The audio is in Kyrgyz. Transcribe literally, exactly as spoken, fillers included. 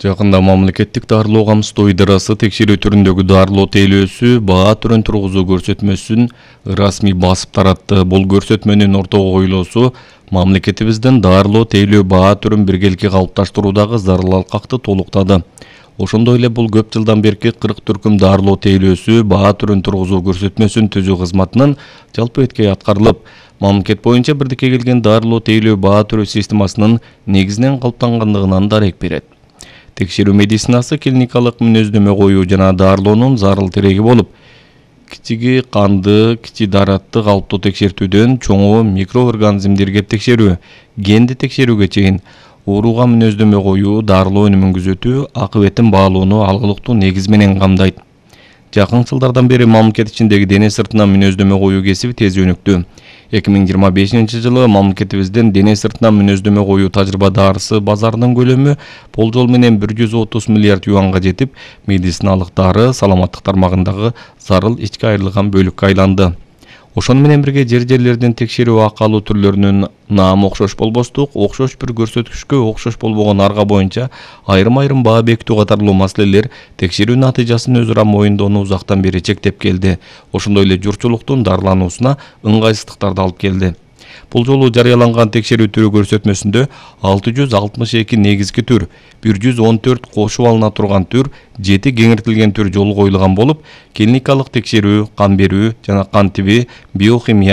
Жакында мамлекеттик дарылоо камсыздоо идарасы текшерүү түрүндөгү дарылоо тейлөөсү баа түрүн тургузуу көрсөтмөсүн расмий басып таратты. Бул көрсөтмөнүн ортого коюлуусу мамлекетибиздин дарылоо тейлөө баа түрүн биргеликке калыпташтыруудагы зарыл алкакты толуктады. Ошондой эле бул көп жылдан берки кырк түркүм дарылоо тейлөөсү баа түрүн тургузуу көрсөтмөсүн түзүү кызматынын жалпы эткей аткарылып, мамлекет боюнча бирдикке келген дарылоо тейлөө баа түрү системасынын негизинен калыптангандыгынан дарек берет. Текшерүү медицинасы клиникалык мүнөздөмө коюу жана дарылоонун зарыл тереги болуп, кичиги канды, кичи даратты калыптуу текшертүүдөн чоңу микроорганизмдерге текшерүү, генди текшерүүгө чейин ооруга мүнөздөмө коюу, дарылоо өнүмүн күзөтүү, акыбетин баалоону алгылыктуу негиз менен камдайт. Жакын жылдардан бери мамлекет ичиндеги дене сыртына мүнөздөмө коюу кесиби тез өнүктү. эки миң жыйырма бешинчи жылы мамлекетибиздин дене сыртына мүнөздөмө коюу тажрыйба дарысы базарынын көлөмү болжол менен бир жүз отуз миллиард юанга жетип, медициналык дары саламаттык тармагындагы зарыл ички айырылган бөлүккө айланды. Ошону менен бирге жер-жерлердин текшерүү акы алуу түрлөрүнүн наамы окшош болбостук, окшош бир көрсөткүчкө окшош болбогон арга боюнча айрым-айрым баа бекитүү катарлуу маселелер текшерүү натыйжасын өзү ара моюндоону узактан бери чектеп келди. Ошондой эле журтчулуктун дарылануусуна ыңгайсыздыктарды алып келди. Бул жолу жарыяланган текшерүү түрү көрсөтмөсүндө алты жүз алтымыш эки негизги түр, бир жүз он төрт кошуп алына турган түр, жети кеңиртилген түр жолу коюлган болуп, клиникалык текшерүү, кан берүү жана кан тиби, биохимия,